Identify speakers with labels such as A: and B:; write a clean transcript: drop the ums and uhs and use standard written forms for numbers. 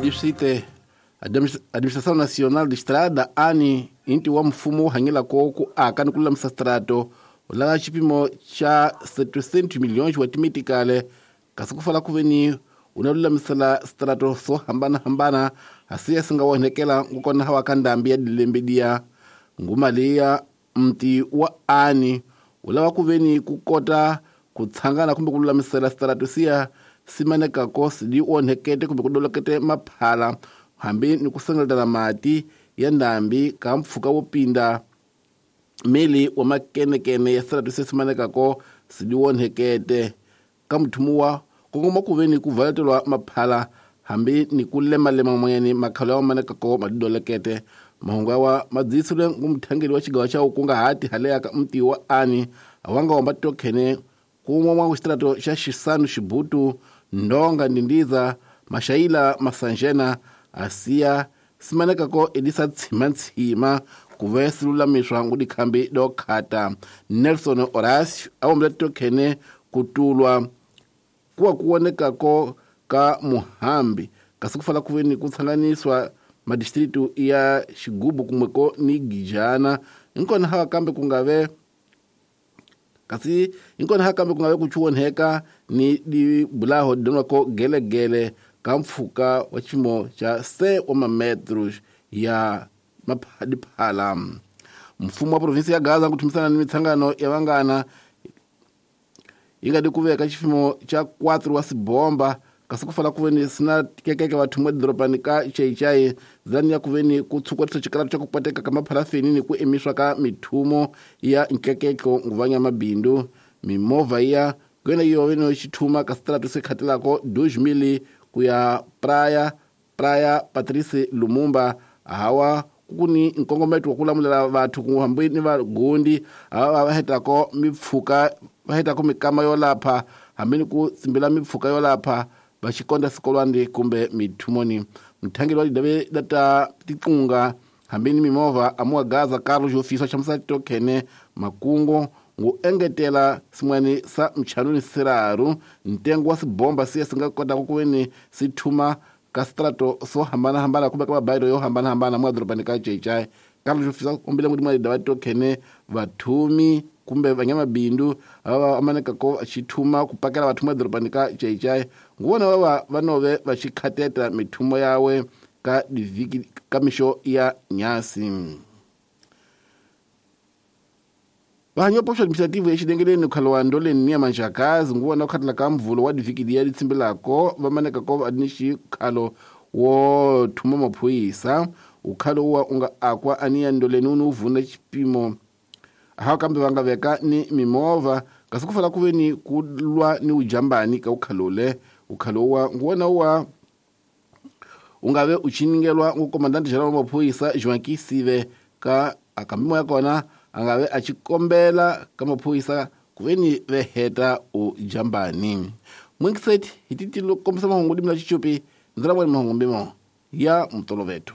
A: Distrite Administração Nacional de Estrada ANI inti wa mfumo wu hanyelako ku aka ni ku lulamisa strato lava xipimo xa 700 milhões wa timetikale kasi ku fala ku ve ni u na lulamisela strato swo hambanahambana hasiya si nga onhekela ngukona hawa ka ndhambi ya dilembe diya nguma leya mti wa ani wu lava ku ve ni ku kota ku tshangana kumbe ku lulamisela strato siya simanekako sidi onhekete kumbe ku dolokete maphala hambi ni ku sengeletana mati ya ndhambi ka mpfhuka wo pinda mili wa makenekene ya strato se simanekako sidi onhekete ka muthumiwa kongoma ku ve ni ku valetelwa maphala hambi ni ku lemalema moyeni makhalo ya manekako madidolekete mahungu awa madzisile ngu muthangeli wa xigawa xa ukungahati haleya ka mti wa ani awanga wamba tokhene kumwe mwa xitrato xa xisanu xibutu ndonga ndindiza maxayila masanjena asiya simanekako elisa tshimatshima ku ve silulamiswa ngu dikhambi do khata Nelson Horacio awombela tokhene ku tulwa kuwa ku vonekako ka muhambi kasi ku fala ku ve ni ku tshanganiswa madistritu ya xigubu kumweko ni gijana hinkona hava kambe ku nga ve kasi hinkona hava kambe ku nga ve ku chuwonheka ni dibulaho dinwako gelegele ka mpfhuka wa ximo xa se wa mametros ya diphala mfumo wa provinsi ya Gaza ku thumisana ni mitshangano ya vangana yi nga di ku veka xifimo xa 4 wa sibomba kasi ku fala ku ve ni sina kekeke vathumi edorobani ka Chaichai zani ya ku ve ni ku tshukwarisa xikaratu xa ku poteka ka mapharafini ni ku emiswa ka mithumo ya nkekeko nguvanya mabindu mimovha ya kuyena yo ve no xithuma ka strato se khatelako 2000 ku ya Praia Praia Patrice Lumumba hawa ku ni nkongometo wa ku lamulela vathu ku hambi ni vagondi hava va hetako mipfhuka va hetako mikama yo lapha hambi ni ku tsimbela mipfhuka yo lapha va xikonda sikolwani kumbe mithumoni muthangeli wa didave data tiqunga hambi ni mimovha amuwa Gaza Carlos Jofisa xamusa tokhene makungo ngu engetela sin'wani sa mchanuni siraru ntengo wa sibomba siya si nga kotaka ku ve ni si thuma ka strato swo hambanahambana kumbe ka mabayiro yo hambanahambana mwa dorobani ka Chaichai Carlos Jofisa kombela ngudi mwa didava tokhene vathumi kumbe vanyamabindu ava amanekako xithuma ku pakela vathu madorobani ka Chaichai nguvona vava va nove va xikhateta mithumo yawe ka divhiki ka mixo ya nyasi vahanyopo swa administrative exilengeleni khalo wa ndoleni ni ya manjakazi nguvona ku khatela ka mvulo wa divhiki liya li tsimbelako va manekako va ni xikhalo wo thuma maphorisa ukhalo wa u nga akwa ani ya ndoleni wu ni wu vuna xipimo hawa kambe va nga veka ni mimovha kasi ku fala ku ve ni ku lwa ni ujambani ka ukhalole ukhalo wa nguwona wa u nga ve u chiningelwa ngu komandante general wa maphorisa Joaquim Sive ka akambimo ya kona a nga ve a xi kombela ka maphorisa ku ve ni ve heta u jambani mwingiseti hi titilo kombisa mahungu dimela xichupi ndzi la vona mahungu mbimo ya mutoloveto.